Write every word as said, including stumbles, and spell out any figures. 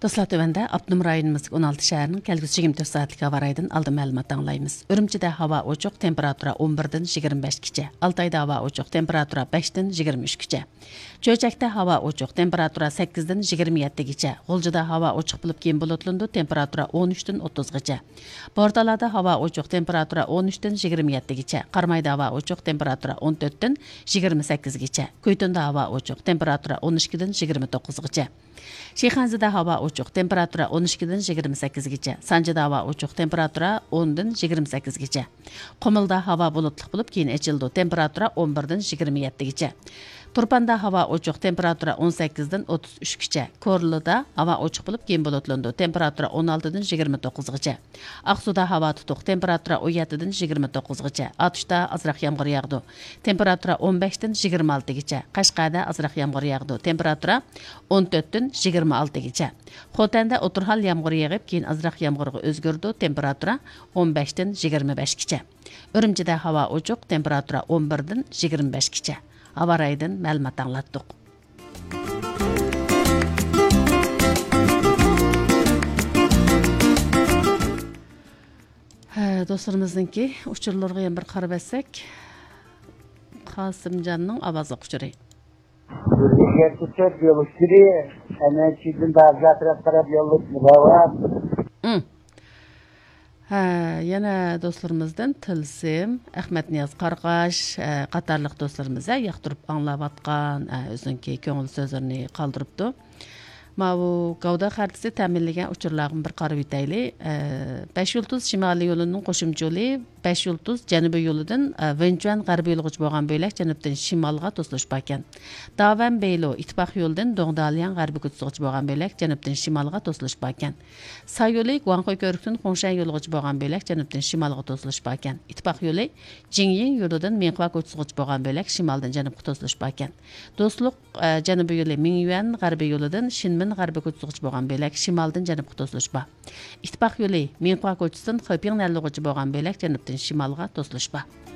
دوستلار، تۆۋەندە ئاپتونوم رايونىمىزدىكى ئون ئالتە شەھەرنىڭ كەلگۈسى يىگىرمە تۆت سائەتلىك ھاۋا رايىدىن ئالدىن مەلۇمات ئاڭلايمىز. ئۈرۈمچىدە ھاۋا ئوچۇق، تېمپېراتۇرا ئون بىردىن يىگىرمە بەشكىچە. ئالتايدا ھاۋا ئوچۇق، تېمپېراتۇرا بەشتىن يىگىرمە ئۈچكىچە. چۆچەكتە ھاۋا ئوچۇق، تېمپېراتۇرا سەككىزدىن يىگىرمە يەتتىگىچە. غۇلجىدا ھاۋا ئوچۇق بولۇپ، كېيىن بۇلۇتلىنىدۇ، تېمپېراتۇرا ئون ئۈچتىن ئوتتۇزغىچە. بورتالادا ھاۋا ئوچۇق، تېمپېراتۇرا ئون ئۈچتىن يىگىرمە يەتتىگىچە. قارامايدا ھاۋا ئوچۇق، تېمپېراتۇرا ئون تۆتتىن يىگىرمە سەككىزگىچە. كۈيتۇندا ھاۋا ئوچۇق، تېمپېراتۇرا ئون ئىككىدىن يىگىرمە توققۇزغىچە. شىخەنزىدە ھاۋا ئوچۇق، تېمپېراتۇرا ئون ئىككىدىن يىگىرمە سەككىزگىچە. سانجىدا ھاۋا ئوچۇق، تېمپېراتۇرا ئوندىن يىگىرمە سەككىزگىچە. قۇمۇلدا ھاۋا بۇلۇتلۇق بولۇپ، كېيىن ئېچىلىدۇ، تېمپېراتۇرا ئون بىردىن يىگىرمە يەتتىگىچە. تۇرپاندا ھاۋا ئوچۇق، تېمپېراتۇرا ئون سەككىزدىن ئوتتۇز ئۈچكىچە. كورلىدا ھاۋا ئوچۇق بولۇپ، كېيىن بۇلۇتلىنىدۇ، تېمپېراتۇرا ئون ئالتىدىن يىگىرمە توققۇزغىچە. ئاقسۇدا ھاۋا تۇتۇق، تېمپېراتۇرا ئون يەتتىدىن يىگىرمە توققۇزغىچە. ئاتۇشتا ئازراق يامغۇر ياغىدۇ، تېمپېراتۇرا ئون بەشتىن يىگىرمە ئالتىگىچە. قەشقەردە ئازراق يامغۇر ياغىدۇ، تېمپېراتۇرا ئون تۆتتىن يىگىرمە ئالتىگىچە. خوتەندە ئوتتۇرا ھال يامغۇر يېغىپ، كېيىن ئازراق يامغۇرغا ئۆزگىرىدۇ، تېمپېراتۇرا ئون بەشتىن يىگىرمە بەشكىچە. ئۈرۈمچىدە ھاۋا ئوچۇق، تېمپېراتۇرا ئون بىردىن يىگىرمە بەشكىچە. ھاۋا رايىدىن مەلۇمات ئاڭلاتتۇق. ھە، دوستلىرىمىزنىڭكى ئۇچۇرلىرىغا يەنە بىر قارىۋەتسەك، قاسىمجاننىڭ ئاۋازلىق ئۇچۇرى. يەتتە تۆت يول ئۇچۇرى، ئەمەلىيەتچىدىن بازار تەرەپ قاراپ يوللۇق راۋان. ئىم. ھە، يەنە دوستلىرىمىزدىن تىلسىم، ئەخمەتنىياز قارقاش، ھە، قاتارلىق دوستلىرىمىز، ھە، ياقتۇرۇپ ئاڭلاۋاتقان، ھە، ئۆزىنىڭكى كۆڭۈل سۆزلىرىنى قالدۇرۇپتۇ. ماۋۇ گەۋدە خەرىتىسى تەمىنلىگەن ئۇچۇرلارغا بىر قارىۋېتەيلى. ئە، بەش يۇلتۇز شىمالىي يولىنىڭ قوشۇمچە يولى بەش يۇلتۇز جەنۇبىي يولىدىن، ئە، ۋېنچۈەن غەربىي يولىغىچە بولغان بۆلەك جەنۇبتىن شىمالغا توسۇلۇشىپ باركەن. داۋەن بېيلو ئىتتىپاق يولىدىن دوڭدالياڭ غەربىي كوچىسىغىچە بولغان بۆلەك جەنۇبتىن شىمالغا توسۇلۇشۇپ باركەن. سا يولى گۇاڭخۇي كۆۋرۈكتىن خۇڭشەن يولىغىچە بولغان بۆلەك جەنۇبتىن شىمالغا توسۇلۇشۇپ باركەن. ئىتتىپاق يولى جىڭيىڭ يولىدىن مىڭخۇا كوچىسىغىچە بولغان بۆلەك شىمالدىن جەنۇبقا توسۇلۇشۇپ باركەن. دوستلۇق، ئە، جەنۇبىي يولى مىڭيۈەن غەربىي يولىدىن شىنمىن غەربىي كوچىسىغىچە بولغان بۆلەك شىمالدىن جەنۇبقا توسۇلۇشۇپ بار. ئىتتىپاق يولى مىڭخۇا كوچىسىدىن خېپىڭ نەنلۇغىچە بولغان بۆلەك جەنۇبتىن شىمالغا توسۇلۇشۇپ بار.